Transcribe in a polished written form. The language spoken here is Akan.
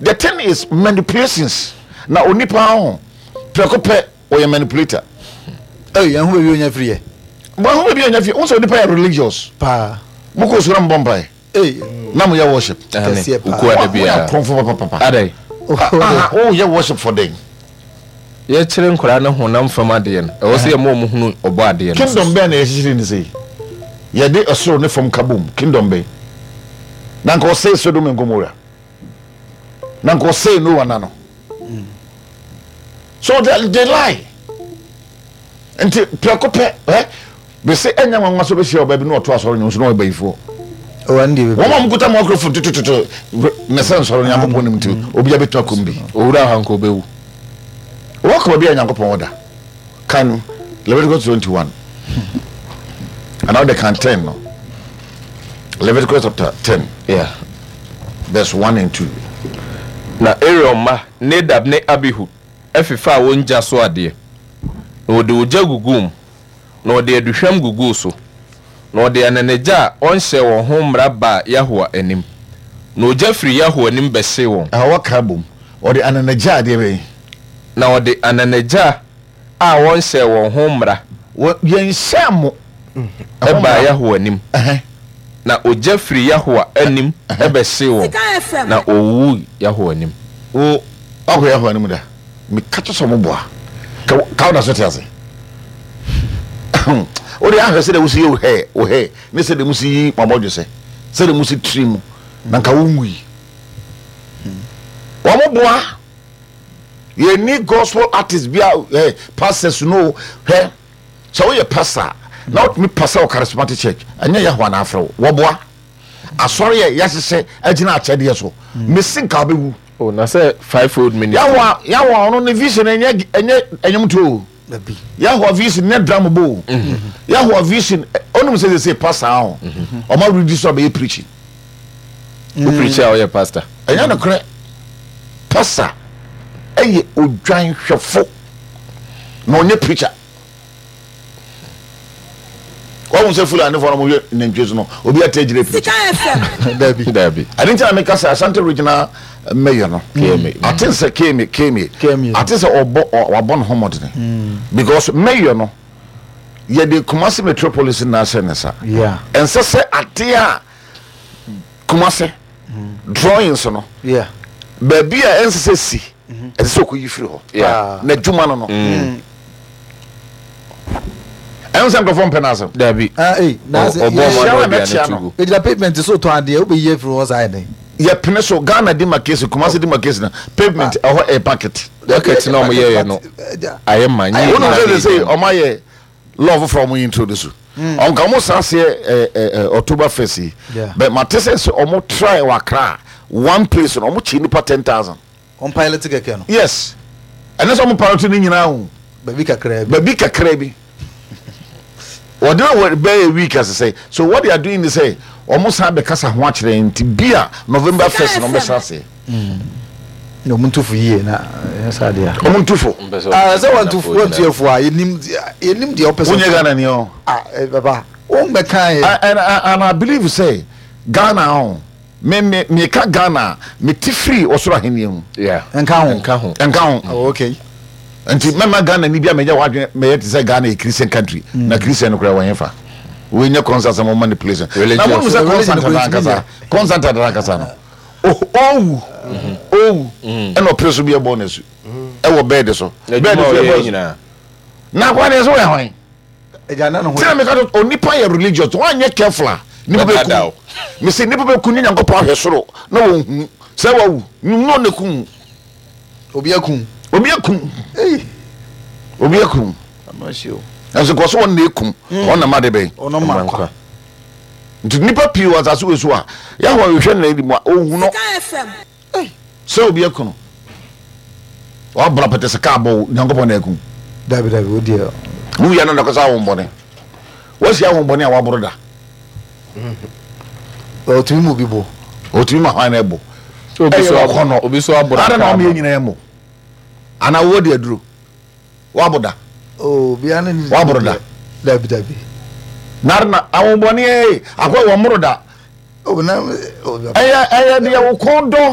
The thing is manipulations na onipa ho prɛko pɛ ɔyɛ manipulator. Ɛy yɛn ho baabi onya firi yɛ. Wɔn ho baabi onya firi. Wɔn sɛ onipa yɛ religious. Paa. Mo kɔ sukuu na mo bɔ mpae. Ɛy. Na mo yɛ worship. Kɛseɛ paa. Okuo ada biara. Wɔn yɛ akorɔmfo papapapa. Adai. Aha o yɛ worship for den. Yɛkyerɛ nkwadaa no honam fam adeɛ no, ɛwɔ sɛ yɛma wɔn hunu ɔbɔ adeɛ no. Kingdom bɛn na yɛkyekyere ne sei? Yɛde ɔsoro ne fam ka bom. Kingdom bɛn? Na nka ɔsɛe Sodom and Gomorrah. Na nka ɔsɛe Noah na no. So they lie. Nti prɛko pɛ ɛ bese ɛnyɛ nwanwa sɛ ɔbɛhyia ɔbaa bi na ɔto asɔre nwom so na ɔyɛ bayifoɔ. Wɔn a wɔkuta microphone tutututu na sɛ nsɔre Nyankopɔn nim nti obiara bɛtumi akɔm bi. Owura ha nka ɔbɛwu. Wɔkɔ baabi a Nyankopɔn wɔ da. Kan Leviticus 21 anaa wode kan 10 no. Leviticus chapter 10 Yeah. verse 1 and 2. Na Aaron mma Nadab ne Abihu fefaa wɔn gya so adeɛ, na wɔde ogya guguu mu, na wɔde aduhwam guguu so, na wɔde ananagya a wɔnhyɛɛ wɔn ho mmara baa Yahowa anim, na ogya firii Yahowa anim bɛhyee wɔn. Ɛhɔ wɔka bom, wɔde ananagya a deɛ bɛn? Na wɔde ananagya a wɔnhyɛɛ wɔn ho mmara. Wɔ, yɛnhyɛɛ mo ho Baa mmara. Yahowa anim, na ogya firii Yahowa anim bɛhyee wɔn, na wɔwuwui Yahowa anim. Wo, woakɔ Yahowa anim da? Meka kyerɛ sɛ wɔboa. Ka, ka woda so te ase? Wode ahwɛ sɛdeɛ wosi yɛ wo hair, wo hair, ne sɛdeɛ musi yi mo abɔdwesɛ, sɛdeɛ musi tiri mu, na nka wonwui. Wɔboa. Yɛnni gospel artist bi a, eh, pastors no, hwɛ. Sɛ woyɛ pastor a, na wotumi pastor wɔ charismatic church, ɛnyɛ Yahowa na afrɛ wo. Wɔboa. Asɔre a yɛahyehyɛ agyina akyɛdeɛ so. Mesi nka wobɛwu. Oh, na sɛ fivefold ministry. Yahowa, Yahowa ɔno ne vision ɛnyɛ ɛnyɛ ɛnwomtoɔ o. Dabi. Yahowa vision nyɛ drum bɔ o. Yahowa vision, ɔnum sɛ sɛ pastor ho. Ɔma redi so abɛyɛ preaching. Wo preach a ɔyɛ pastor. Ɛnyɛ nokorɛ. Pastor ɛyɛ odwanhwɛfo na ɔnyɛ preacher. Wɔn sɛ Fulani fo na wɔn hwɛ nantwie so no obi ate agyina preacher. Dabi. Dabi. Ɛne nti na meka sɛ Ashanti regional mayor no. KMA. Ate sɛ KMA KMA. KMA. Ate sɛ ɔbɔ wabɔ ne ho mmɔdene. Because mayor no yɛde Kumasi metropolis na ahyɛ ne nsa. Yeah. Ɛnsɛ sɛ adeɛ a Kumasi drawings no Yeah. baabi a ɛnsɛ sɛ si ɛsɛ sɛ ɔkɔyi firi hɔ. Yeah. N'adwuma no no. Ɛno sɛ nkurɔfoɔ mpɛ n'asɛm. Dabi. Ah, eh, na sɛ Ɔbɔ ɔmo Yɛhyia ano wo a aduane mɛkyea to no. gu. Egyina pavement so tɔn adeɛ, wobɛyi afiri hɔ saa yɛ dɛn? Yɛpene so Ghana di ma case Kumasi di ma case na pavement ɛhɔ ɛyɛ bucket. Bucket na ɔmo yɛyɛ no ayɛ ma nye Wɔn nyinaa sɛ na sɛ egyina mu. ɔmo ayɛ law foforɔ ɔmo introduce. Ɔnka ɔmo san seɛ ɛ ɛ October 1st yi. Yeah. But mate sɛ sɛ ɔmo try wɔ Accra one place no ɔmo kye nipa 10,000. Wɔn pilot kɛkɛ no. Yes. Ɛne sɛ ɔmo pilot ne nyinaa o. Baabi kakraa bi. Baabi kakraa bi. Wɔde na wɔ bɛyɛ week asesɛ. So what they are doing is sɛ ɔmo san bɛkasa ho akyerɛ yɛn nti bi a November 1st na ɔmo bɛhyɛ aseɛ. Na ɔmo ntufo yie na ɛnyɛ saa deɛ a. Ɔmo ntufo. Mpɛ sɛ Ah, ɔmo sɛ wɔn gyina tu wɔn tu efu a yɛnim yɛnim deɛ ɔpɛ sɛ. Wonyɛ Ghana ni ɔ. Ah, eh, papa, wɔn bɛka yɛ. And I believe sɛ Ghana ɔ me me meka Ghana a mete firi ɔsoro ahenni mu. Yeah. Nka ho. Nka ho. Nka ho. Oh, okay. Nti mɛma Ghana ni bi a mɛyɛ wadwene mɛyɛ te sɛ Ghana yɛ Christian country na Christian no koraa wɔn fa. Wɔnyɛ concert sɛ mo manipulation. Na mo nim sɛ Religious. concert ankasa concert ankasa no owu owu ɛna ɔpere so bi ɛbɔ n'asu ɛwɔ bɛɛde so N'adwuma bɛɛde a so ɔyɛ ɛbɔ asu nyinaa. na akwa ne so yɛ hwan Ɛgya na ne ho. tina meka to onipa yɛ religious wanyɛ careful a nipa bɛ Bɛdaadaa ku wo. mesi nipa bɛ ku ne Nyankopɔn ahwɛ soro na wɔn hu sɛ wawu no ne ku Obi akum. Obi akum. Ei. Obi akum. Ano ahye o. Ɛnso kɔ so wɔn na ekum. Wɔn na ma de bɛn. Ɔno ma nkwa. Nti nipa pii wɔ asase wɔ so a Yahowa hwehwɛ na edi mu a ohu no. Sɛ obi aku no. Wabra pɛtɛ sɛ kaa bɔ wo Nyankopɔn na aku. Dabi dabi o deɛ. Wuyɛ no na kɔsɛ ahombɔne. Wasi ahombɔne a waboro da. Ɔtumi mu bi bo. Ɔtumi ma hwan na ɛbo. Obi so Ɛyɛ ɔkɔnɔ. Obi so aboro Ada na kaa ɔmo yɛ ma. nyinaa mo. Ana wo de aduro. Wabo da. Oh, obiara ne ne Waboro da. Dabi dabi. Na na ahombɔne ee akɔ wɔn moro da. Oh, na oh, Ɛyɛ ɛyɛ deɛ wo kɔn dɔ.